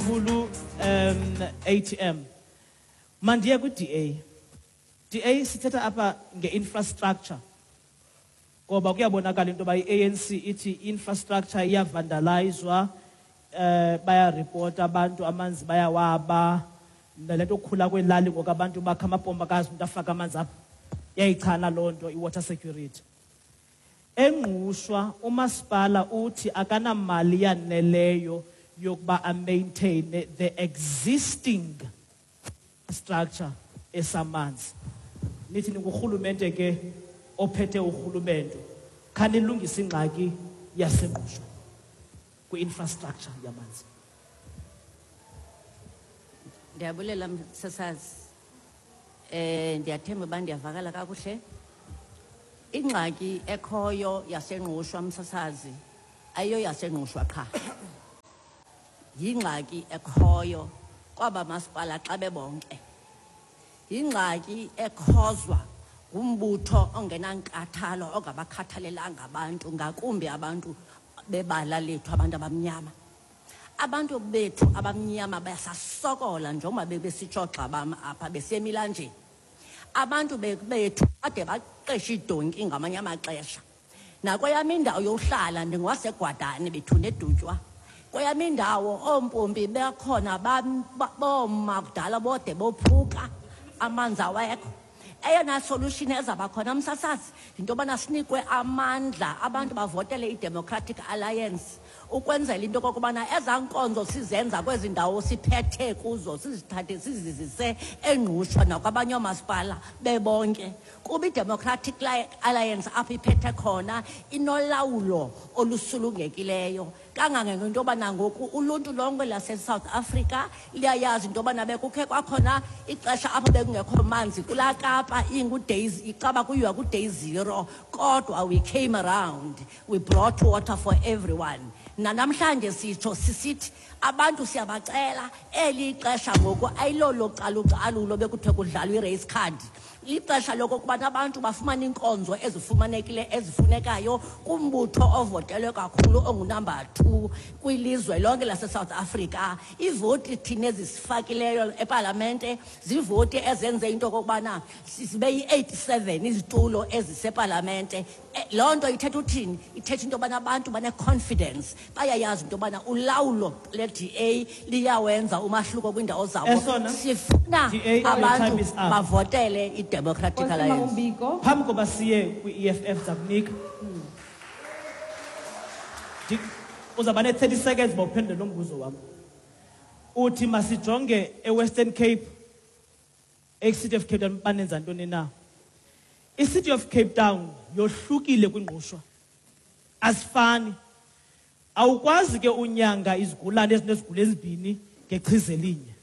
kakhulu, ATM. Mandiye ku-DA. DA, sithetha apha nge-infrastructure. Ngoba kuyabonakala into yoba i-ANC ithi infrastructure iyavandalizwa, bayaripota abantu, amanzi bayawaba, nale nto okukhula kwelali ngoku abantu bakha amapompo, akazi umntu afake amanzi apha. Iyayichana loo nto i-water security. ENgqushwa umasipala uthi akanamali yaneleyo yokuba amaintain the existing structure esamanzi. Nithi ningurhulumente ke ophethe urhulumento, khanilungise ingxaki yaseNgqushwa kwi-infrastructure yamanzi. Ndiyabulela, msasazi. Ndiyathemba uba ndiyavakala kakuhle. Ingxaki ekhoyo yaseNgqushwa, msasazi, ayiyo yaseNgqushwa qha. Yingxaki ekhoyo kwaba masipala xa bebonke. Yingxaki ekhozwa ngumbutho ongenankathalo, ongabakhathalelanga abantu, ngakumbi abantu bebala lethu, abantu abamnyama. Abantu bethu abamnyama basasokola njengoba bebesitsho gxa bam apha besemilanjeni. Abantu bethu bade baqeshe iidonki ngamanye amaxesha. Nakweyam indawo yohlala, ndingwaseGwadane bethu neDutywa. Kweyam indawo oompompi bakhona boma kudala bode bophuka, amanzi awekho. Eyona solution ezaba khona, msasazi, yinto yobana sinikwe amandla, abantu bavotele i-Democratic Alliance ukwenzela into okokubana ezaa nkonzo sizenza kwezi ndawo siphethe kuzo sizithathe sizizise eNgqushwa nakwabanye oomasipala bebonke, kuba i-Democratic Alliance apho iphethe khona inolawulo olusulungekileyo kangangento yobana ngoku uluntu lonke lase-South Africa liyayazi into yobana bekukhe kwakhona ixesha apho bekungekho manzi kulaa Kapa, ingu-days icaba kuyiwa ku-day zero, kodwa we came around, we brought water for everyone. Nanamhlanje sitsho sisithi abantu siyabacela, eli ixesha ngoku ayilolo calucalulo bekuthiwe kudlalwa i-race card. Lixesha lokokubana abantu bafumane iinkonzo ezifumanekile ezifunekayo kumbutho ovotelwe kakhulu ongunumber 2 kwilizwe lonke laseSouth Africa. Ivoti thina ezisifakileyo epalamente zivoti ezenze into okokubana sibe yi-87 izitulo ezisepalamente. Loo nto ithetha uthini? Ithetha into yobana abantu bane-confidence, bayayazi into yobana ulawulo le-DA liyawenza umahluko kwiindawo zabo. Esona, Sifuna DA, your abantu time is up. bavotele i-Democratic Nkosi Alliance. Mama. Phambi koba siye kwi-EFF, zakunika, uzawuba ne-30 seconds uba uphendule lo mbuzo wam. Uthi masijonge eWestern Cape, e-City of Cape Town, banenza ntoni na? I-City of Cape Town yohlukile kwiNgqushwa, asifani. Awukwazi ke unyanga izigulane ezinezigulo ezibini ngechiza elinye.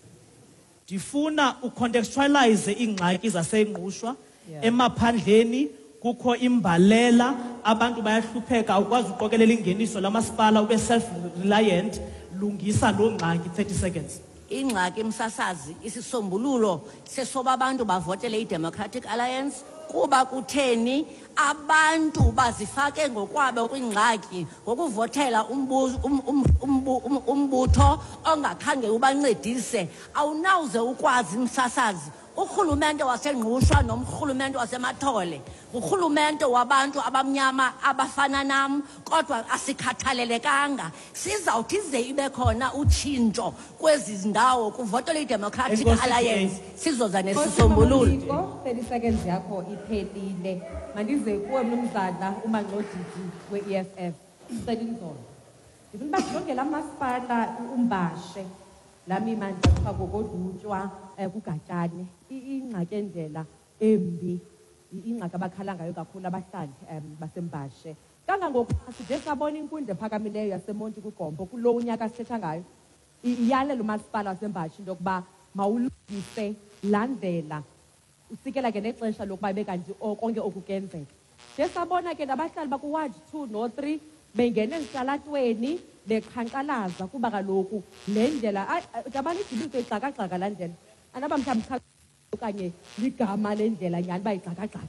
Ndifuna ucontextualize iingxaki zaseNgqushwa. Emaphandleni kukho imbalela, abantu bayahlupheka, awukwazi uqokelela ingeniso lamasipala ube self-reliant. Lungisa loo ngxaki, 30 seconds. Ingxaki, msasazi, isisombululo sesoba abantu bavotele i-Democratic Alliance. Kuba kutheni? Abantu bazifake ngokwabo kwingxaki ngokuvotela umbutho ongakhange ubancedise. Awunawuze ukwazi, msasazi, urhulumente waseNgqushwa nomrhulumente waseMathole ngurhulumente wabantu abamnyama abafana nam, kodwa asikhathalelekanga. Sizawuthi ize ibe khona utshintsho kwezi ndawo, kuvotelwe i-Democratic Enkosi, Alliance, DA. sizoza nesisombululo. Nkosi, 30 seconds yakho iphelile. Mandize kuwe, mnumzana uMangxodidi we-EFF. Cela inzolo. Ndifuna uba sijonge laa masipala uMbashe, laa mimandla kuthiwa kokoDutywa, kuGatyane. Ingxaki endlela embi, ingxaki abakhala ngayo kakhulu abahlali baseMbashe. Kangangokuba side sabona inkundla ephakamileyo yaseMonti kuGompo kulo unyaka sithetha ngayo iyalela umasipala waseMbashe into yokuba mawulungise laa ndlela, usikela ke nexesha lokuba ibe kanti konke oku kuyenzeka. Nje sabona ke nabahlali bakuward 2 no-3 bengena ezitalatweni beqhankqalaza kuba kaloku le ndlela, dabana idibiso ixakaxaka laa ndlela. Anaba mhlawumbi cha okanye ligama lendlela nyhani uba ixakaxaka.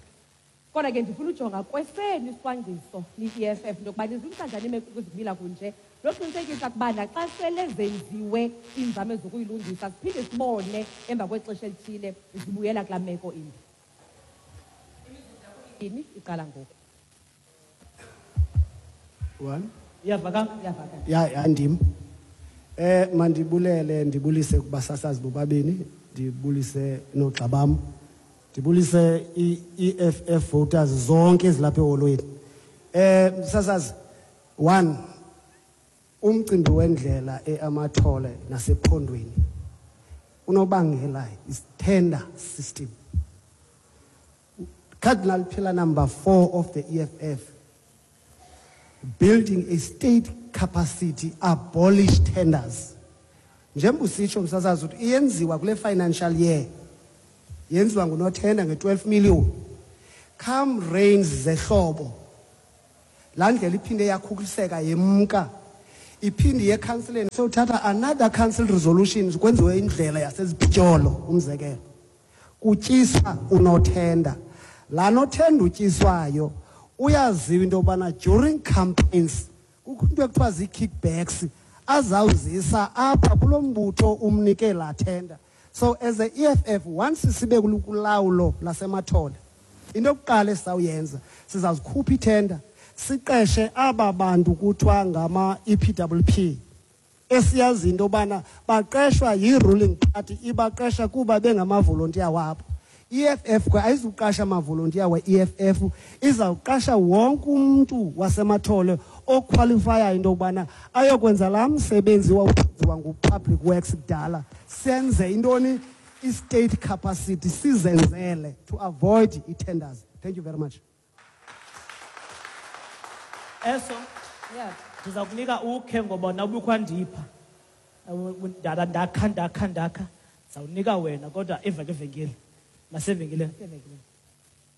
Kodwa ke ndifuna ujonga kwesenu isicwangciso ni-EFF into yokuba nizilungisa njani imeko kuzimila kunje, noqinisekisa ukuba naxa sele zenziwe iinzame zokuyilungisa siphinde sibone emva kwexesha elithile zibuyela kulaa meko imbi. Ini iqala ngoku. One. Iyavakala? Iyavakala. Ya, ndim. Mandibulele, ndibulise kubasasazi bobabini, ndibulise noogxa bam, ndibulise i-EFF voters zonke ezilapha eholweni. Msasazi, one, umcimbi wendlela eAmathole nasephondweni unobangela is tender system. Cardinal pillar number 4 of the EFF, building a state capacity, abolish tenders. Njengoba usitsho msasazi ukuthi iyenziwa kule financial year, yenziwa ngunothenda nge-12 million. Come rains zehlobo, laa ndlela iphinde yakhukhuliseka yemka, iphinde iye councileni, sewuthatha another council resolutions kwenziwe indlela yasezipityolo, umzekelo. Kutyiswa unothenda. Laa nothenda utyiswayo uyaziwa into yobana during campaigns kukho into ekuthiwa zii-kickbacks azawuzisa apha kulo mbutho umnike laa tender. So as a EFF, once sibe kulawulo laseMathole, into yokuqala esizawuyenza, sizazikhupha ithenda, siqeshe aba bantu kuthiwa ngama-EPWP, esiyazi into yobana baqeshwa yi-ruling party, ibaqesha kuba bengamavolontiya wabo. EFF ke ayizuqasha amavolontiya we-EFF, izawuqasha wonke umntu waseMathole okhwalifayayo into yokubana ayokwenza laa msebenzi wawuwenziwa ngu-Public Works kudala. Senze intoni? I-state capacity sizenzele to avoid i-tenders. Thank you very much. Eso, Yeah. ndiza kunika ukhe ngoba nawubukhwandipha. Ndakha, ndakha, ndakha. Ndizawunika wena kodwa eva ke venkile. Masevenkileni. Evenkileni.